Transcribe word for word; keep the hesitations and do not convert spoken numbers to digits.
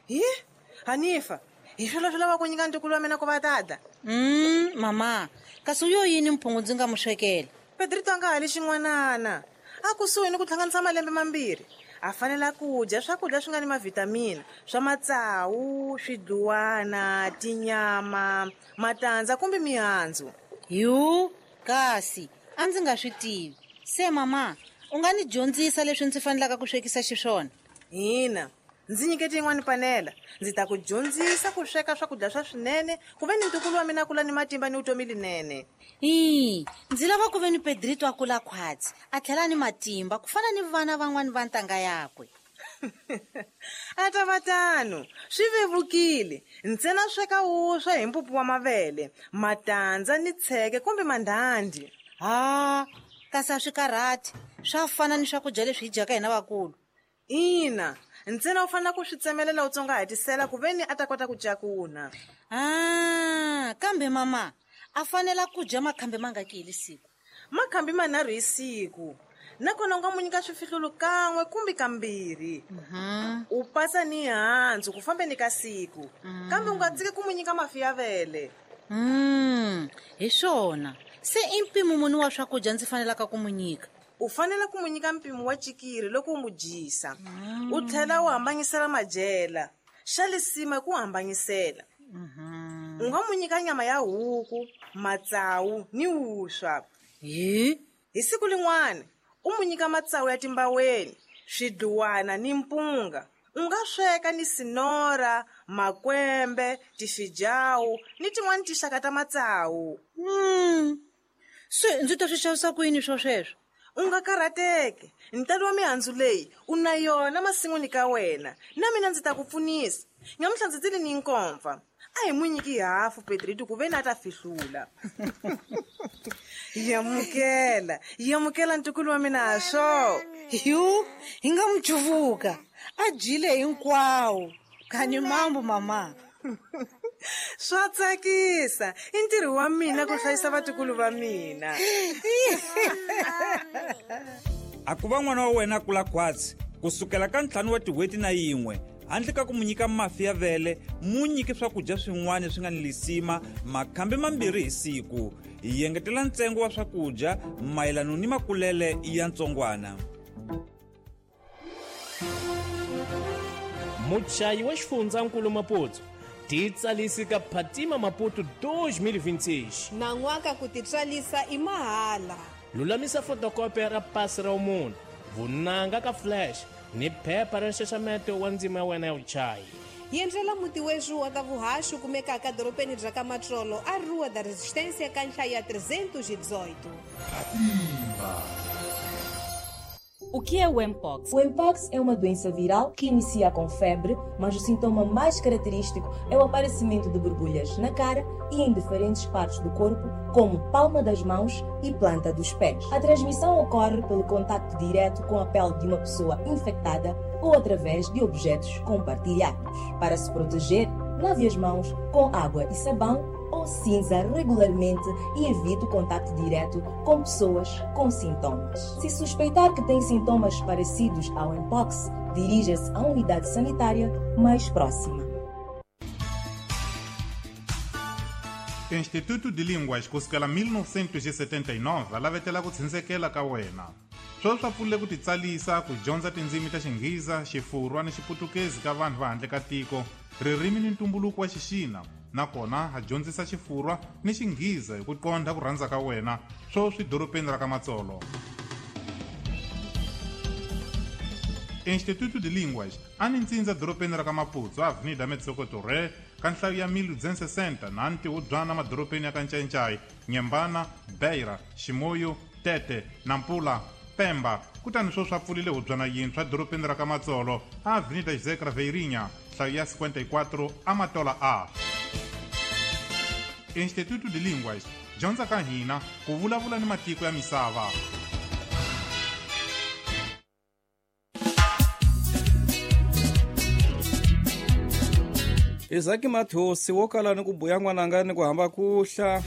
Hi Hanifa, hi swilo swi lava ku nyika ntukulu wa mina ku va tata. Mm, mama, kasi u yo yini mphungu ndzi nga mu swekela? Pedrito a nga ha li xin'wanana. A kusuhi ni ku hlanganisa malembe mambirhi. A fanela ku dya swakudya swi nga ni mavhitamini, swa matsawu, swidluwana, tinyama, matandza kumbe mihandzu. Yu, kasi a ndzi nga swi tivi. Se mama, u nga ni dyondzisa leswi ndzi fanelaka ku swekisa xiswona? Hina, ndzi nyikete yin'wana panela. Ndzi ta ku dyondzisa ku sweka swakudya swa swinene, ku ve ni ntukulu wa mina kula ni matimba ni vutomi linene. Ii, ndzi lava ku ve ni Pedrito a kula khwatsi, a tlhela ni matimba ku fana ni vana van'wani va ntanga yakwe. A ta va tano, swi vevukile. Ntsena sweka wuswa hi mpupu wa mavele, matandza ni tsheke kumbe mandhandhi. Ha, kasi a swi karhati, swa fana ni swakudya leswi hi dyaka hina vakulu. Ina, ntsena u fanele ku swi tsemelela u tsongahatisela ku ve ni a ta kota ku cakuna. Ah, kambe mama, a fanela ku dya makhambi mangaki hi siku? Makhambi manharhu hi siku. Nakona u nga mu nyika swifihlulu kan'we kumbe kambirhi. Mm-hmm. U pasa ni handzu ku fambeni ka siku. Mm. Kambe u nga tshiki ku mu nyika mafi ya vele. Mm, hi swona. Se i mpimo muni wa swakudya ndzi fanelaka ku mu nyika? U fanele ku mu nyika mpimo wa cikiri loko u mu dyisa. Mm. U tlhela u hambanyisela madyela. Xa lisima i ku hambanyisela. Mm-hmm. U nga mu nyika nyama ya huku, matsawu ni wuswa. Hi? Hi siku lin'wana, u mu nyika matsawu ya timbaweni, swidluwana ni mpunga. U nga sweka ni sinora, makwembe, tifijawu ni tin'wana tinxaka ta matsawu. Mm. Se ndzi ta swi xavisa ku yini swo sweswo? U nga karhateki. Ntalo wa mihandzu leyi u na yona masin'wini ka wena. Na mina ndzi ta ku pfunisa. Nyamuhla ndzi tile ni nkomfa. A hi mu nyiki hafu Pedrito ku ve ni a ta fihlula. Yamukela, yamukela ntukulu wa mina ha swo. Yu, hi nga mu cuvuka. A dyile hinkwawo. Kani mambo mama. Swa tsakisa. I ntirho wa mina ku hlayisa vatukulu va mina. A ku va n'wana wa wena a kula khwatsi kusukela ka ntlhanu wa tin'hweti na yin'we, handle ka ku mu nyika mafi ya vele, mu nyike swakudya swin'wana swi nga ni lisima makhambi mambirhi hi siku. Hi engetela ntsengo wa swakudya mayelana ni makulele ya ntsongwana. Muchayi wa xifundzankulu Maputo titsalisi ka Phatima Maputo dois mil e vinte e seis. Nan'waka ku titsarisa i mahala. Lulamisa fotokopia ra pasi ra munhu, vunanga ka flash ni phepha ra nxaxameto wa ndzima ya wena ya vuchayi. Yendlela muti wexu wa ka vuhaxi kumekaka dorobeni bya ka Matsolo a Rua da Resistência ka nhlayo ya trezentos e dezoito. Phatima. O que é o Mpox? O Mpox é uma doença viral que inicia com febre, mas o sintoma mais característico é o aparecimento de borbulhas na cara e em diferentes partes do corpo, como palma das mãos e planta dos pés. A transmissão ocorre pelo contacto direto com a pele de uma pessoa infectada ou através de objetos compartilhados. Para se proteger, lave as mãos com água e sabão ou cinza regularmente e evite o contato direto com pessoas com sintomas. Se suspeitar que tem sintomas parecidos ao Mpox, dirija-se à unidade sanitária mais próxima. Instituto de Línguas kusukela mil novecentos e setenta e nove lavetela ku tshunsekela ka wena. Sweswi swa pfulile ku titsalisa ku dyondza tindzimi ta Xinghiza, Xifurwa ni Xiputukezi ka vanhu va handle ka tiko, ririmi ni ntumbuluko wa Xixina. Nakona ha dyondzisa Xifurwa ni Xinghiza hi ku qondha ku rhandza ka wena, sweswi dorobeni ra ka Matsolo. Instituto de Línguas a ni ntsindza dorobeni ra ka Maputo, Avenida Metsoko Torre, ka nhlayo ya mil duzentos e sessenta na ntihubyana madorobeni ya ka Ncayincai, Nyembana, Beira, Ximoyo, Tete, Nampula, Pemba. Kutani sweswi swa pfulile hubyana yintshwa dorobeni ra ka Matsolo, Avenida José Craveirinha, nhlayo ya cinquenta e quatro, Amatola A. Instituto de Línguas, dyondza ka hina ku vulavula ni matiko ya misava. Isaac Mathosi wo kala ni ku buya n'wananga ni ku hamba kuhla.